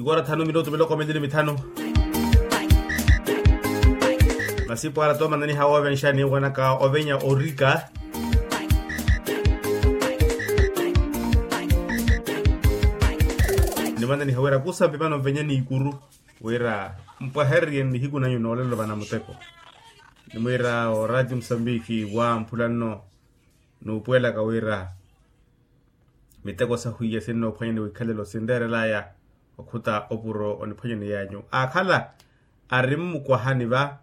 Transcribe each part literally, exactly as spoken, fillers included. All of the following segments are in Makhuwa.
Ora thanu minutu miloko mili ni mithanu. Masi pwara tomananiha wovenxa ni wanaka ovenya orika. Nimananiha wira kusampi mano mvenye ni ikuru wira mpwahererye nihiku nanyu noolelo vana muteko. Nimwira o radio musambiki wa mphula nno nuupuwelaka wira miteko sahwiiya sinnoophwanyani wikhalelo sinreerelaya okhuta opuro oniphwanyani yanyu aakhala ari mmukwahani va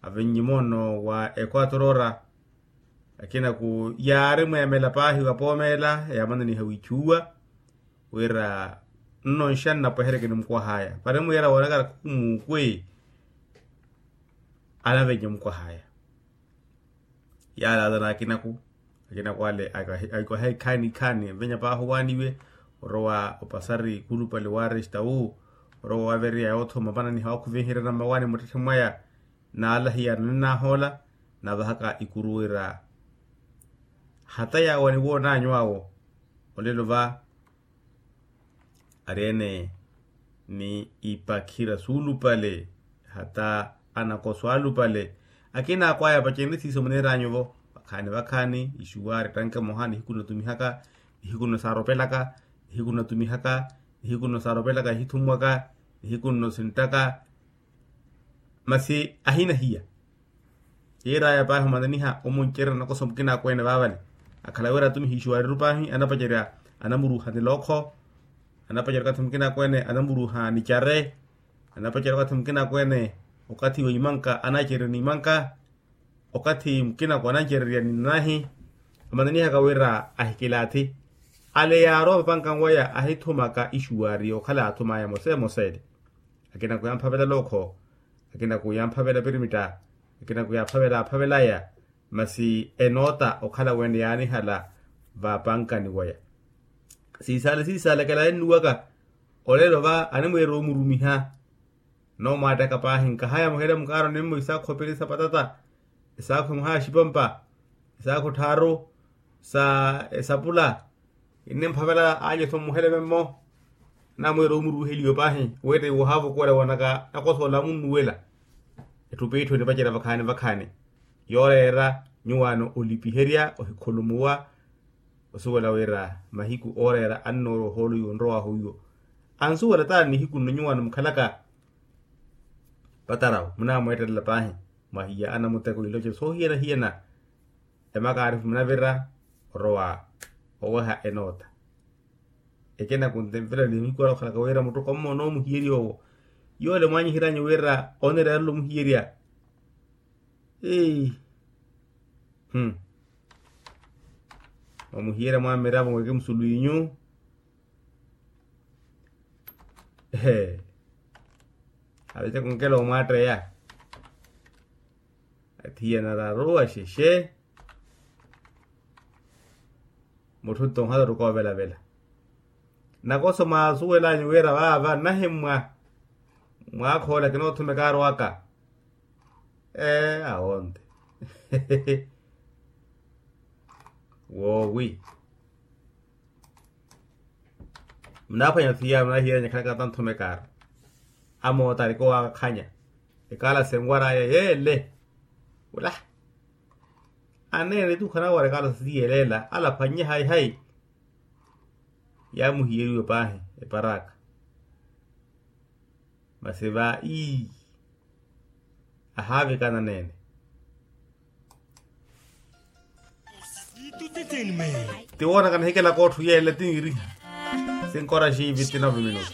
avinnyi moono wa ekwatorora. Akinaku yaari mweemela paahi wa poomeela yaamananiha wiichuwa wira nno nxanna pwehereke ni mukwahaya pari mwiira woonakara khuku muukwe anavenye mukwahaya. Yaalaala n'akinaku akinaku ale aikwaha ikhaani ikhaani envenya paahi owaaniwe orowa opasari khulupale wa restawu orowa wavereya yoothoma mpananiha waakhuvenherya na mmawaani muttetthe mwaya. Naalahiya naninahoola naavahaka ikuru wira hata yaawo aniwoon'anyu awo olelo va ari ene ni ipakhira suulupale hata anakoso alupale. Akina akwaya pacenrisiiso muniir'anyu-vo vakhaani vakhaani ixuwaari tanke moha nihiku nnatumihaka nihiku nno saaropelaka nihiku nnatumihaka nihiku nno saaropelaka ihithumwaka nihiku nno sinttaka. Masi ahinahiya yiir'aya paahi omananiha omuncererya nakoso mukina akweene vaavale akhala wira atumiha ixuwaariru paahi anapacerya anamuruuha nilookho anapacerya okathi mukina akweene anamuruuha nicare anapacerya okathi mukina akweene okathi wa imanka anacerya n'imanka okathi mukina akweene anacererya ninnahi. Amananihaka wira ahikilaathi ale yaarowa vapankan waya ahithumaka ixuwaari okhala yaathum'aya emosa emosa ele. Akinaku yamphavela lookho akinaku yamphavela pirimitta akinaku yaaphavela aaphavel'aya. Masi enoota okhala wene yaanihala vapankani waya siisaale siisaale kela ennuwaka olelo va animweera omurumiha. Noomwaattaka paahi nkahaya muhela mukaaro nimmo isaakhu opiri sapatata isaakhu muhaya xipampa isaakhu tthaaru sa esapula. Innimphavela aalyetho mmuhele memmo anamweera omuruuheliwe paahi weetteiwa ohaavokola wanaka nakosoola munnuwela. Etthu piitthu enipacerya vakhaani vakhaani yooreera nyuwaano olipiherya ohikhulumuwa osuwela wira mahiku ooreera annoorowa ohoolo iwo onrowaahu iwo ansuwela taani nihiku nno nyuwaano mukhalaka patarawo munaamweettelela paahi mwahiya anamuteko iloce soohiyana-hiyana. Emakaarifu munavira orowa oweha enoota ekena kuntemvelani mikuwala okhalaka wira muttuko mmoona omuhiyerya owo yoole mwaanyihery'anyu wira oneererya omuhiyerya. Eei. Mwamuhiyerya mwamiravo mweke musulu inyu. Ee avece kunkela omwaatteya athiyanararu axexe. Mutthu nto ohala ori koovelavela nakoso mwaasuwel'anyu wira vaava nnahimmwa mwaakhoola kinoothuma ekaaro aka. Ee awonte woowi. Munaaphwanya thiya munahiyeranya khalaka tanthuma ekaaro amoota arikowaakakhanya ekaalasi enwar'aya yeele. Wula aneene etukhu anawara ekaalasi siyelela alaphwannye hayi hayi. Yaamuhiyeriwe paahi eparaka masi va ii ahaavikana neene. Tiwoonaka nihikelaka otthu yeele tiniiriha sinkoraxiivi tinavu minutu.